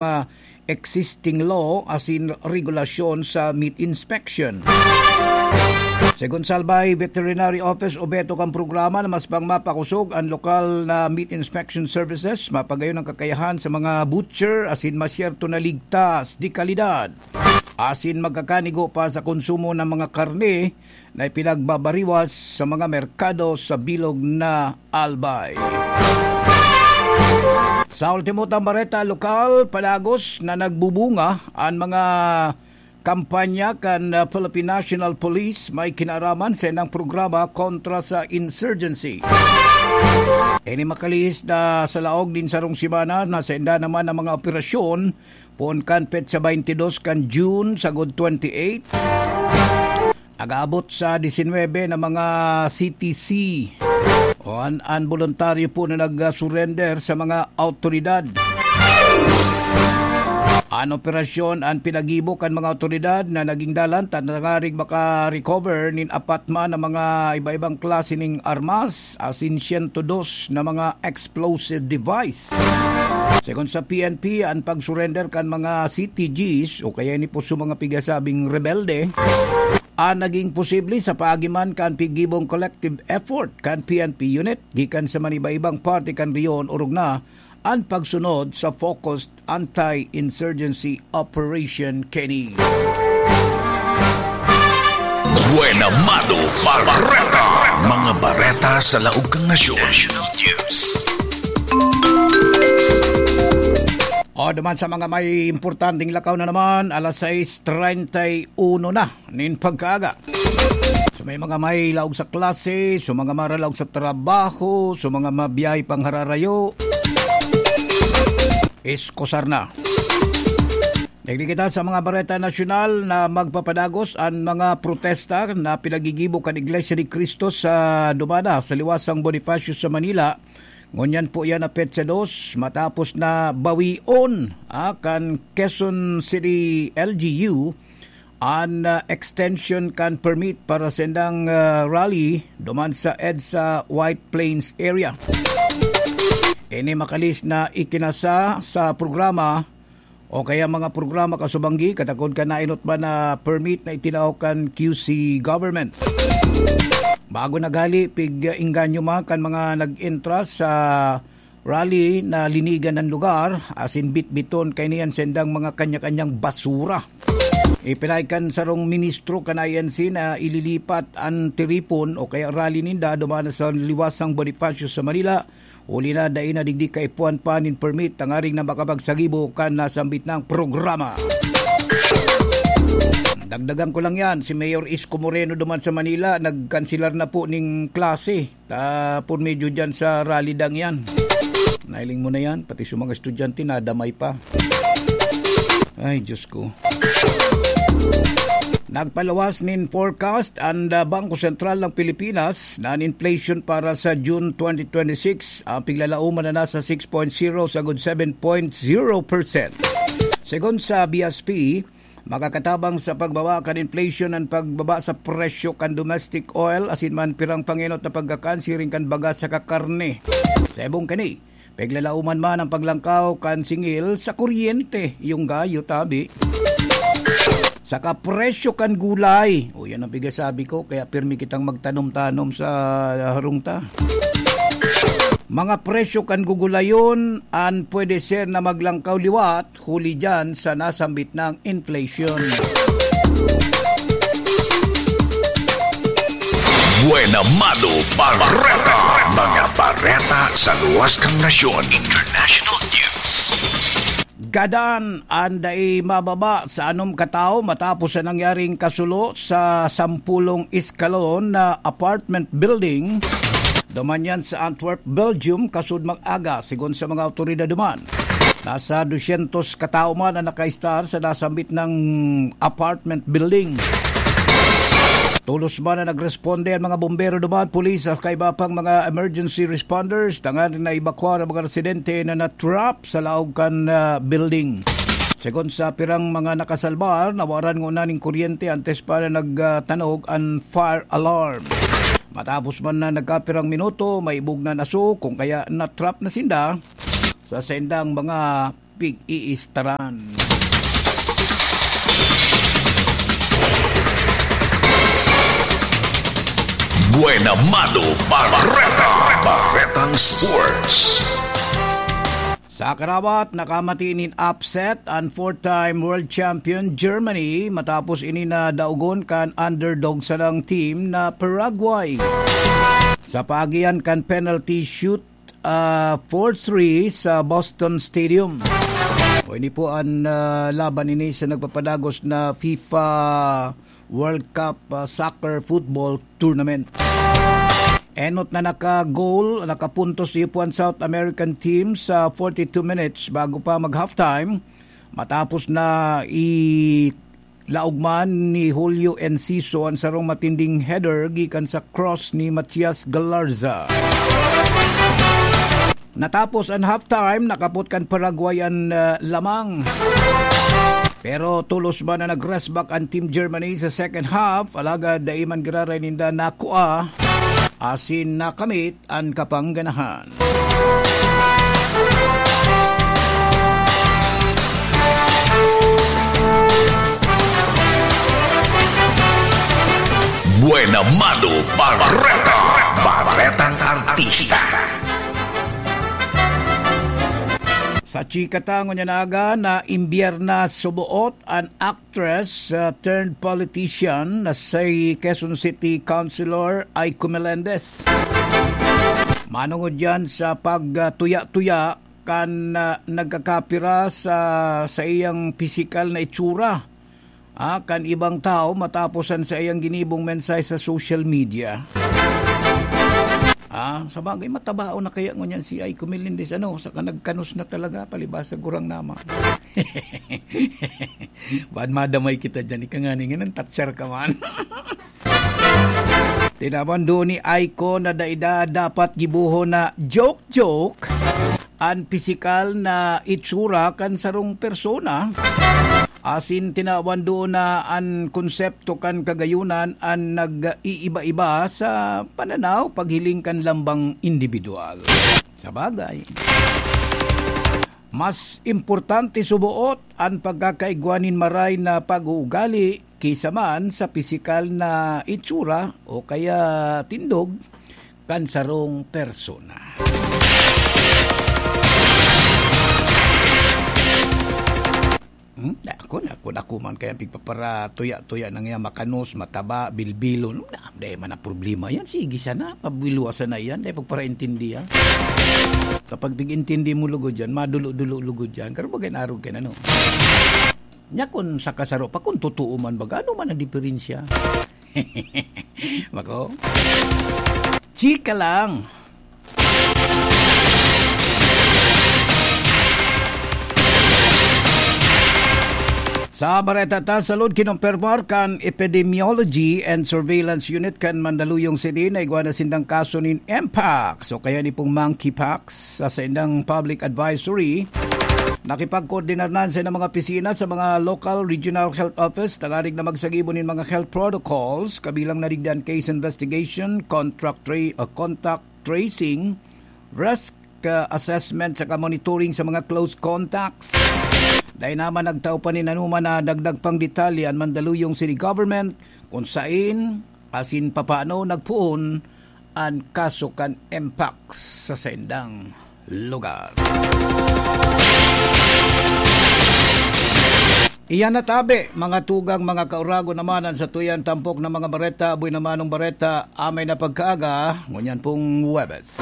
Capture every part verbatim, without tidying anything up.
mga existing law asin regulasyon sa meat inspection. Segun sa Albay Veterinary Office, obheto kan programa na mas pang mapakosog an lokal na meat inspection services, mapagayon ang kakayahan sa mga butcher asin masyerto na ligtas, de kalidad, asin magkakanigo pa sa konsumo ng mga karne na ipinagbabariwas sa mga merkado sa bilog na Albay. Sa ultimo tang bareta lokal, padagos na nagbubunga an mga kampanya kan, ah, Philippine National Police may kinaraman sa inang programa kontra sa insurgency. Ini makalihis na sa laog nin sarong semana na sa inda naman ang mga operasyon poon kan petsa twenty-dos kan June sagod twenty-eight. Nag-aabot sa disinwebe na mga C T C o an, an boluntaryo po na nag-surrender sa mga awtoridad. An operasyon an pinagibo kan mga awtoridad na naging dalan tangarig maka-recover nin apat man na mga iba-ibang klase ning armas, asin siyento dos na mga explosive device. Segun sa P N P, an pag-surrender kan mga C T Gs o kaya ini po sa mga pigasabing rebelde, ah, naging posible sa paagi man kan pigibong collective effort kan P N P unit gikan sa maniba-ibang parte kan rehiyon, orog na an pagsunod sa focused anti-insurgency operation kini. Buena Mano Bareta. Mga bareta sa laog kan nasyon. National News. O, duman sa mga may importanteng lakaw na naman, alas sais treinta y uno na nin pagkaaga. So, may mga may laog sa klase, so, mga maralaog sa trabaho, so, mga mabiyahe pang hararayo, iskusar na. Digdi kita sa mga bareta nasyonal na magpapadagos an mga protesta na pinagigibo kan Iglesia ni Cristo sa Dumana, sa Liwasang Bonifacio sa Manila. Ngunyan po yan na petsa dos, matapos na bawion, ah, kan Quezon City L G U an, ah, extension kan permit para sa indang, ah, rally duman sa EDSA White Plains area. Ini makalihis na ikinasa sa programa o kaya mga programa kasubanggi, katakod kan nainot man na permit na itinao kan Q C government. Bago naghali, pig-inganyo man kan mga nag-entra sa rally na linigan an lugar, asin bitbiton kaini an sendang mga kanya-kanyang basura. Ipinay kan sarong ministro kan I N C na ililipat an tiripon o kaya rally ninda duman sa Liwasang Bonifacio sa Manila, huli na dai na digdi kaipuhan pa nin permit tangaring na makapagsagibo kan nasambit na programa. Dagdagan ko lang yan, si Mayor Isko Moreno duman sa Manila, nagkanselar na po ning klase. Ta, por medyo dyan sa rally dang yan. Nailing mo na yan, pati sa mga estudyante, nadamay pa. Ay, Diyos ko. Nagpaluwas nin forecast an, ah, Bangko Sentral ng Pilipinas na an inflation para sa June twenty twenty-six, ang piglalauman na nasa six point zero sagod seven point zero percent. Segun sa B S P, makakatabang sa pagbaba kan inflation an pagbaba sa presyo kan domestic oil asin man pirang pangenot na pagkakan siring kan baga saka karne. Sa ibong kani, piglalauman man ang paglangkaw kan singil sa kuryente, yung gayo tabi. Saka presyo kan gulay. O, yan ang pigasabi ko, kaya pirmi kitang magtanom-tanom sa harong ta. Mga presyo kan gugulayon, an pwede ser na maglangkaw liwat, huli dyan sa nasambit na inflation. Buena Mano Bareta. Mga bareta sa luwas kan nasyon. International News. Gadan an dai mababa sa anom katawo matapos sa nangyaring kasulo sa sampulong eskalon na apartment building. Duman yan sa Antwerp, Belgium, kasud mag-aga, sigon sa mga awtoridad duman. Nasa dusyentos katawo man ang nakaistar sa nasambit na apartment building. Tolos man na nagresponde ang mga bombero duman, pulis at kaiba pang mga emergency responders tanganing na-evacuar ang mga residente na na-trap sa laog kan, ah, building. Segun sa pirang mga nakasalbar, nawaran ngona nin kuryente antes pa na nagtanog an fire alarm. Matapos man na nagkapirang minuto, may ibog na naso, kung kaya na-trap na sinda sa sendang mga pig-iistaran. Buena Mano Bareta, Baretang Sports. Sa karabat, nakamati nin upset an four-time world champion Germany matapos ini na daogon kan underdog sanang team na Paraguay. Sa paagihan kan penalty shoot, ah, four three sa Boston Stadium. O, ini po an, ah, laban ini sa nagpapadagos na FIFA World Cup, ah, Soccer Football Tournament. Enot na naka-goal, nakapuntos iyo po an South American team sa forty-two minutes bago pa mag-halftime. Matapos na i-, laog man ni Julio Enciso an sarong matinding header gikan sa cross ni Matias Galarza. Natapos an halftime, nakapot kan Paraguay an, ah, lamang. Pero tolos man na nag-rest back an Team Germany sa second half, alagad dai man giraray ninda nakua asin nakamit an kapangganahan. Buena Mano Bareta, Baretang Artista. Sa chika ta ngunyan aga na imbyerna suboot an actress, uh, turned politician na si Quezon City Councilor Aiko Melendez. Manungod yan sa pagtuya-tuya kan, uh, nagkakapira sa, sa iyang pisikal na itsura, ah, kan ibang tao matapos an saiyang ginibong mensahe sa social media. Ah, sa bagay, matabaon na kaya ngunyan si Aiko Melendez, ano, saka nagkanos na talaga, palibasa gurang nama. Bad madamay kita dyan, ika nga ni, ngayon, tatsar ka man. Tinaban doon ni Aiko na daida dapat gibuho na joke-joke an pisikal na itsura kan sarong persona. Asin tinawan doon na an konsepto kan kagayunan an nag-iiba-iba sa pananaw paghiling kan lambang individual. Sa bagay, mas importante suboot an pagkakaigwa nin maray na pag-uugali kisa man sa pisikal na itsura o kaya tindog kan sarong persona. Hmm? Ako na, ako na, ako man kaya pigpaparatuya-tuya na nga, makanos, mataba, bilbilon. Na, dai man ang problema yan. Sige sana, pabiluwasan na yan. Dai pagparaintindihan. Kapag pig-intindi mo lugod yan, madulo-dulo lugod yan. Karo bagay na arog ka na, no? Nya kun sa kasaro pa, kung totoo man baga, ano man ang diferensya? Mako? Chika lang. Sa bareta ta, salud, kinumpirmar kan Epidemiology and Surveillance Unit kan Mandaluyong City na igwa na sindang kaso nin Mpox o kaya ni pong monkeypox. Sa saindang public advisory, nakipagkoordinarnan sa mga opisina sa mga local regional health office tangarig na magsagibo nin mga health protocols, kabilang na digdi an case investigation, contact tra-, ah, contact tracing, risk, ah, assessment saka monitoring sa mga close contacts. Dai naman nagtao pa nin anuman na dagdag pang detalye an Mandaluyong City Government kung sain asin papaano nagpoon an kaso kan Mpox sa saindang lugar. Iyan na tabi, mga tugang, mga kauragon naman, an satuyan tampok na mga bareta, aboy na manong bareta, amay na pagkaaga, ngunyan pong Huwebes.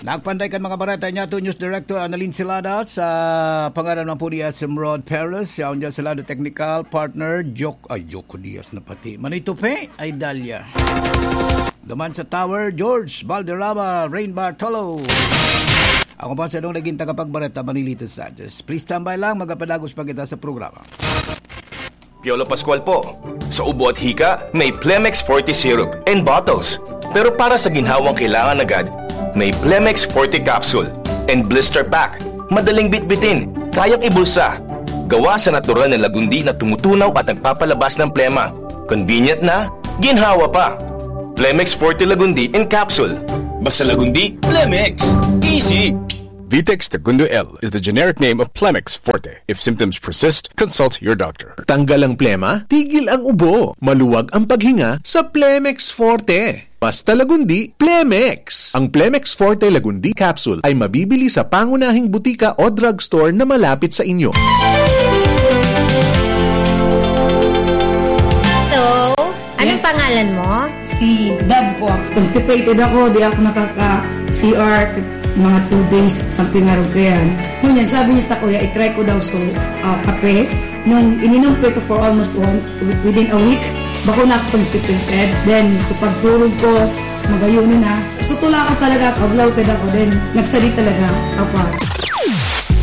Nagpanday kan mga bareta niya to News Director Annalyn Celada, sa pangaran man po ni S M Rod Perez, siya ang dyan sa lado technical partner, Jok-, ay, Joko Diaz na pati. Manito Pe, ay Dalia. Duman sa Tower, George Valderrama, Rain Bartolo. Ako pa sa nung naging tagapagbareta, Manilito Sanchez. Please stand by lang, magapadagos pa kita sa programa. Piolo Pascual po. Sa ubo at hika, may Plemex Forte Syrup and bottles. Pero para sa ginhawang kailangan agad, may Plemex Forte Capsule and Blister Pack. Madaling bitbitin, kayang ibulsa. Gawa sa natural na lagundi na tumutunaw at nagpapalabas ng plema. Convenient na, ginhawa pa. Plemex Forte Lagundi in Capsule. Basta Lagundi, Plemex. Easy! Vitex Segundo L is the generic name of Plemex Forte. If symptoms persist, consult your doctor. Tanggal ang plema, tigil ang ubo, maluwag ang paghinga sa Plemex Forte. Basta Lagundi, Plemex! Ang Plemex Forte Lagundi Capsule ay mabibili sa pangunahing butika o drugstore na malapit sa inyo. Hello! Anong Yes. pangalan mo? Si Dab po. Constipated ako, di ako nakaka-C R mga two days, something arog kayan. Ngunyan, sabi niya sa kuya, i-try ko daw so, ah, kape. Nung ininom ko ito for almost one, within a week, bako na ako constipated. Then, sa pagturog ko, magayuno na. Gusto ko lang ako talaga, kablaw ka ako. Then, nagsali talaga sa part.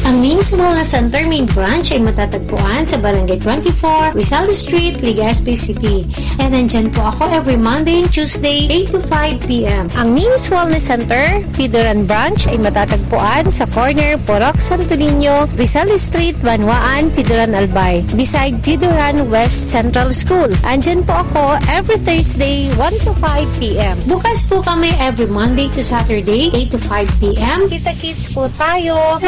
Ang Ming's Mall na Center Main Branch ay matatagpuan sa Barangay twenty-four, Rizal Street, Legazpi City. And nandyan po ako every Monday and Tuesday, eight to five p.m. Ang Ming's Wellness Center, Pidoran Branch ay matatagpuan sa corner Purok Santo Niño, Rizal Street, Banwaan, Pidoran Albay, beside Pidoran West Central School. Andyan po ako every Thursday, one to five p.m. Bukas po kami every Monday to Saturday, eight to five p.m. Kita-kits po tayo!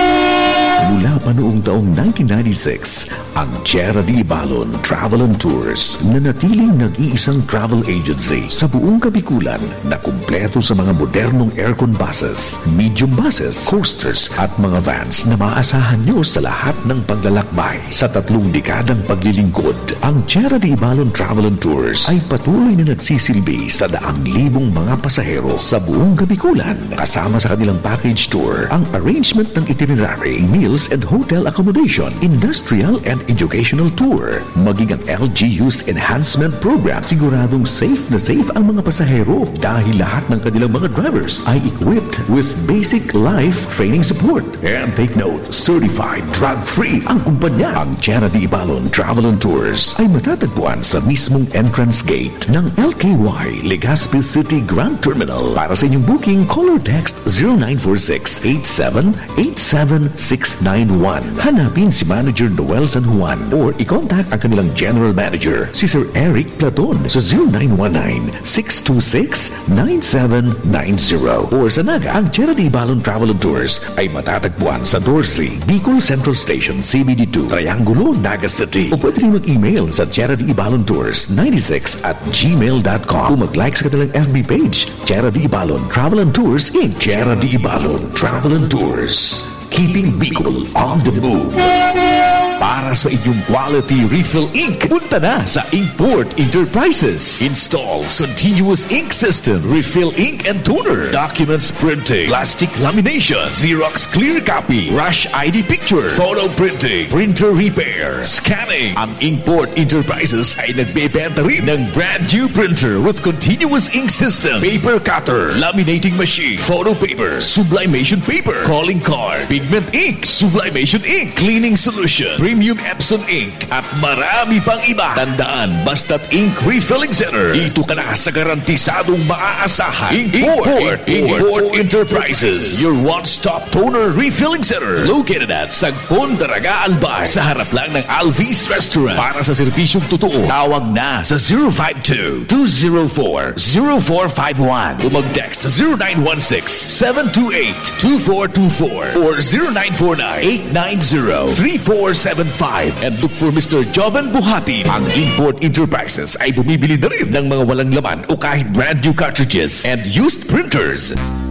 Mula pa noong taong nineteen ninety-six, ang Tierra de Ibalon Travel and Tours nanatiling nag-iisang travel agency sa buong Kabikulan na kumpleto sa mga modernong aircon buses, medium buses, coasters at mga vans na maaasahan nyo sa lahat ng paglalakbay. Sa tatlong dekadang paglilingkod, ang Tierra de Ibalon Travel and Tours ay patuloy na nagsisilbi sa daang libong mga pasahero sa buong Kabikulan, kasama sa kanilang package tour, ang arrangement ng itinerary, meals and hotel accommodation, industrial and educational tour, maging ang L G U's enhancement program. Siguradong safe na safe ang mga pasahero dahil lahat ng kanilang mga drivers ay equipped with basic life training support. And take note, certified drug-free ang kumpanya. Ang Tierra de Ibalon Travel and Tours ay matatagpuan sa mismong entrance gate ng L K Y Legazpi City Grand Terminal. Para sa inyong booking, call or text zero nine four six eight seven eight seven six nine one. Hanapin si Manager Noel San Juan or i-contact ang kanilang General Manager, si Sir Eric Platon, sa zero nine one nine six two six nine seven nine zero. Or sa Naga, ang Tierra de Ibalon Travel and Tours ay matatagpuan sa Dorsey, Bicol Central Station, C B D two, Triangulo, Naga City. O pwede rin mag-email sa Tierra de Ibalon Tours ninety-six at gmail dot com o mag-like sa kanilang F B page, Tierra de Ibalon Travel and Tours, Inc. Tierra de Ibalon Travel and Tours. Keeping Bicol on the move. Para sa inyong quality refill ink, punta na sa Inkport Enterprises. Installs continuous ink system, refill ink and toner, documents printing, plastic lamination, Xerox clear copy, rush I D picture, photo printing, printer repair, scanning. Ang Inkport Enterprises ay nagbebenta rin ng brand new printer with continuous ink system, paper cutter, laminating machine, photo paper, sublimation paper, calling card, pigment ink, sublimation ink, cleaning solution, premium Epson ink, at marami pang iba. Tandaan, basta't ink refilling center, dito ka na sa garantisadong maaasahan. Import, Import, Import Enterprises, your one-stop toner refilling center, located at Sagpon, Daraga, Albay, sa harap lang ng Alvis Restaurant. Para sa serbisyong totoo, tawag na sa zero five two, two zero four, zero four five one o mag-text sa zero nine one six, seven two eight, two four two four or zero nine four nine, eight nine zero, three four seven five and look for Mister Joven Buhati. Ang Import Enterprises ay bumibili na rin ng mga walang laman o kahit brand new cartridges and used printers.